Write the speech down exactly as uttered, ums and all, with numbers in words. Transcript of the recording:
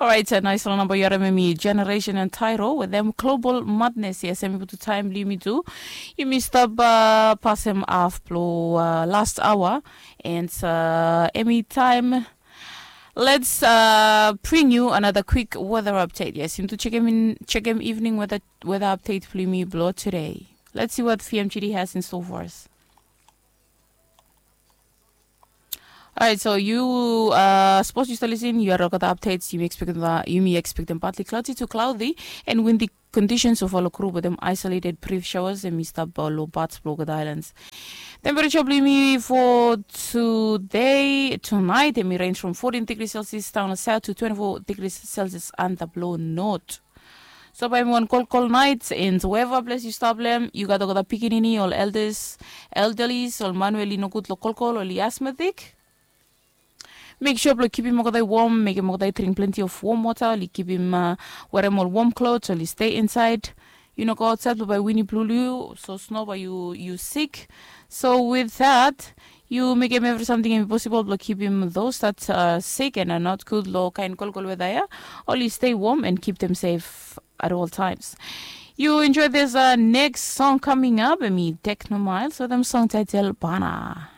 Orait, naisfala namba yu harim em i Generation and Tyro with them Global Madness. Yes, em i putum taem blong yumi tu. Yumi stap pasem haf blong last hour, and em i taem. Let's bring you another quick weather update. Yes, yumi tu chekem in, chekem evening weather, weather update blong yumi blong today. Let's see what V M G D has in store for us. Alright, so yu sapos yu stap lisin, yu harim olgeta updates. Yumi expectem, yumi expectem partly cloudy to cloudy and windy conditions of olgeta group with them isolated brief showers. Em i stap long parts blong olgeta islands. Temperature blong yumi for today, tonight, em i range from fourteen degrees Celsius down south to twenty-four degrees Celsius antap long north. So bae em i wan kolkol naet, and wherever ples yu stap long em, yu gat olgeta pikinini, ol elders, elderlies, ol man we oli nogud long kolkol, oli asthmatic. Mek sua blong kipim olgeta i wom, mekem olgeta i dring plenti of wom wota, oli kipim, werem ol wom klos, oli stay insaed. Yu no go aotsaed blong bae win i blulu yu, so sno bae yu, yu sik. So with that, yu mekem evri samting em i posibol blong kipim those that are sick and are not good long kaen kolkol weda ya, oli stay warm and keep them safe at all times. Yu enjoy this next song coming up, em i Techno Miles with them song title Bana.